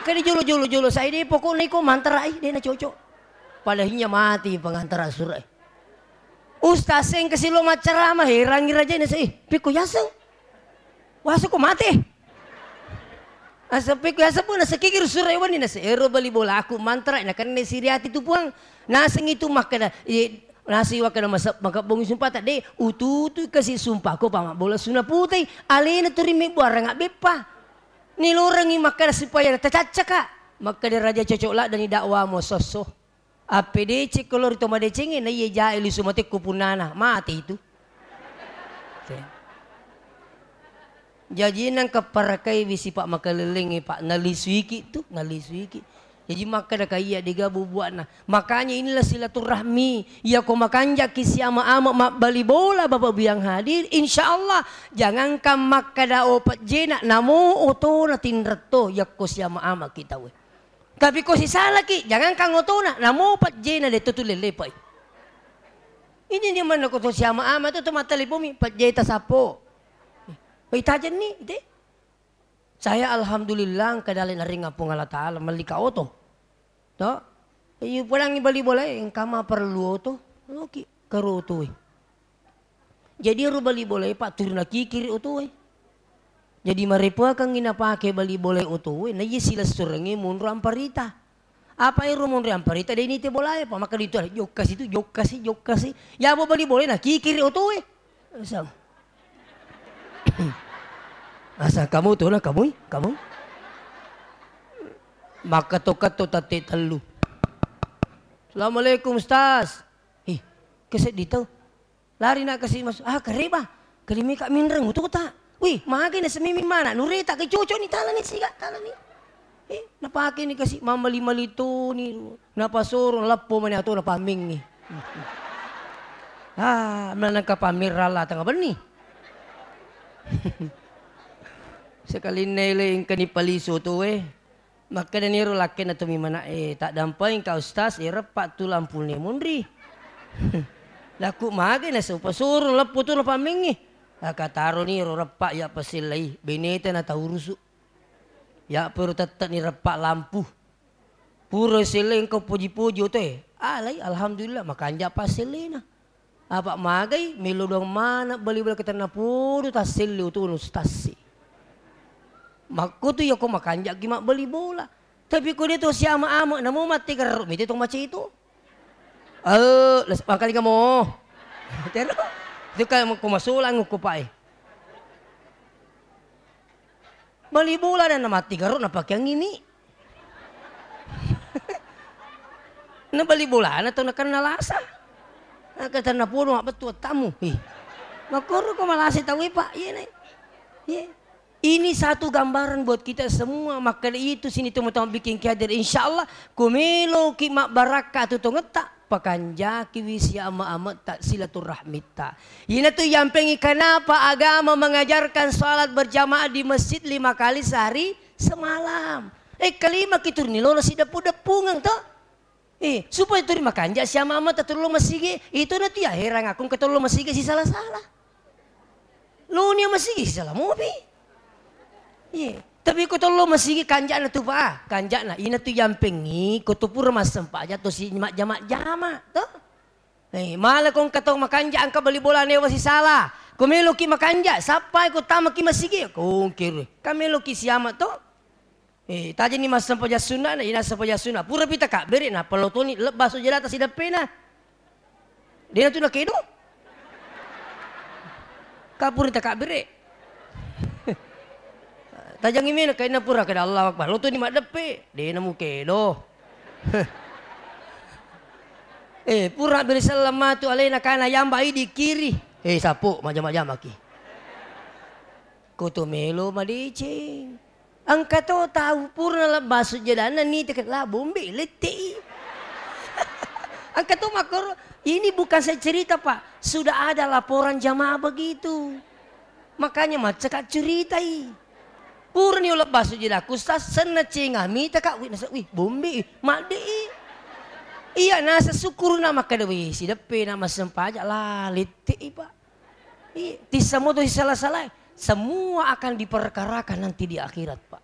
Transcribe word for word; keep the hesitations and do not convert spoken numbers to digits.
Kede jolo-jolo-jolo sai de pokokna iko mantara i de na cocok. Pada hinya mati pengantara surat. Ustaz seng kasi lo maccarama, herangi raja na sai. Piko yaseng. Wasa ko mate. Asa piko yaseng pun nasa kikir surat wani nasa ero bali bola aku mantara na kenne siriati tu puang. Naseng itu makkeda, eh, nasi wakkeda masa maka bongi sumpah tak de ututu kasi sumpah ko pama bola suna putai. Alena turi mebbu arang beppa. Nilorengngi makkeda supaya tacaccaka. Makkeda raja cocok laddani dakwamu sosso. Appedecekko lo ri to madecengnge, naiye jae lisu matekko punnana, mate itu. Oke. Jaji nangka parakaiwi sipa makalellengnge, Pak, nalisuiki tu, nalisuiki. Jaji makkeda ka iya dega bubuakna. Makanya inilah silaturahmi. Iya ko makanjaki siama-ama mabbali bola Bapak Bu yang hadir, insya Allah jangankan makkeda o pejjena, namo otona tinretto yakko siama-ama kita we. Tapi ko sisalaki, jangankan otona, namo pejjena de to tu lelepai. Ini dia mana ko to siama-ama to, to mattelepomi, pejjeta sappo. Oi tajenni, ite. Saya alhamdulillah engka dale naring Puang Allah Taala, mellika oto. To? Iyu pulangi bali bola, engka ma perlu oto. Oki, karo oto. Jadi ero bali bolae, Pak, turuna kikiri otoe. Jadi marepoakengngi napake bali bolae otoe, naiya silessurengnge monro amparita. Apa ero monro amparita de nite bolae, Pak, maka ditu jokka situ, jokka si, jokka si. Yabo bali bolae na kikiri otoe. Asal. Asal kamu tu na kamui, kamu. Maka to katto tatte tellu. Assalamualaikum, Ustaz. Ih, keseddi tau. Lari na kasi mas, ah, kareba. Kalimika minreng utota. Wih, magai na semimi mana? Nureta ke cocok ni talani siga talani. Eh, napake ni kasi mamali-mali toni. Napasoro leppo mani atau napammingi. Ah, menangka pamirralla tengah benni. Sekalinna ele engka ni palisu tu, eh. Makkedani ero lakkenna tomimana, "Eh, taddampai engka Ustaz, eh, reppa tu lampune munri." Laku magai naseng, "Upasuro leppo tu napammengngi." Akataroni ero reppa iya pasellai, beneta nataurusu. Iya pero tette'ni reppa lampu. Pura sellai engka poji-poji otoe. Alai, alhamdulillah, makanja passellena. Apa magai, melo doang mana bali-bali ketenna podo tasselle utunu tassi. Makkutu yako makanjaki mabbali bola. Tapi ko de to siama-ama, namo matti garro mite to maceto. Eh, les-, mangkalinga mo. Tero. Itu kan ko masolang ko pae. Bali bola dan matti garro napakeangngi mi. Na bali bolana tau nakenna lasa. Nakatenna podo mabbettu wattamu. Ih. Makkoro ko malasa tauwe, Pak. Iye, ne. Iye. Ini satu gambaran buat kita semua. Makkeda itu sini teman-teman bikin ki hadir. Insya Allah, ko meloki mabbarakka tu tongetta. Pakanjakiwi siama-ametta silaturahmitta. Inatu yampengngi kenapa agama mengajarkan salat berjamaah di masjid lima kali sehari semalam. Eh, kelima ki turni lolo si depu-depungeng to. Eh, supaya turi makanja siama-ametta turlo masigi. Itu natu ya herang aku ke turlo masigi si salah-salah. Lo nia masigi sala mopi. Iye. Tapi ko tollo masigi kanjana tu pa, kanjana ina tu yampengngi ko tu pura massempajang to si majjama-jama to. Eh, mala ko engka tau makanja engka bali bola newa sisala. Ko meloki makanja, sappai ko tamaki masigi, ko ongkiri. Ka meloki siama to. Eh, tajani massempajang sunna'na, ina sempajang sunna. Purapi takabbere, nappa lotoni lebba sujadata sideppena. Dena tu nakedo. Kapuri takabbere. Tajangi mena kainna pura kada Allahu Akbar. Lotoni maddeppe, dena mukedo. Eh, pura beri selleng matu alena kana yamba idi kiri. Eh, sapo majama-jamaki. Koto melo madeceng. Engka to tau purana lebba sujjadanna niteke la bombe lette'i. Engka to makkoro, ini bukan saya cerita, Pak. Sudah ada laporan jamaah begitu. Makanya maccaka curitai. Purani lebba sujjadakku, Ustaz, senna cenga mitaka, wih, nasa, wih, bombe, madde'i. Iya, nasa syukurna makkeda, wih, sideppe na massempajang la lette'i, Pak. Iya, tissa moto sisala-salae. Semua akan diperkarakan nanti di akhirat, Pak.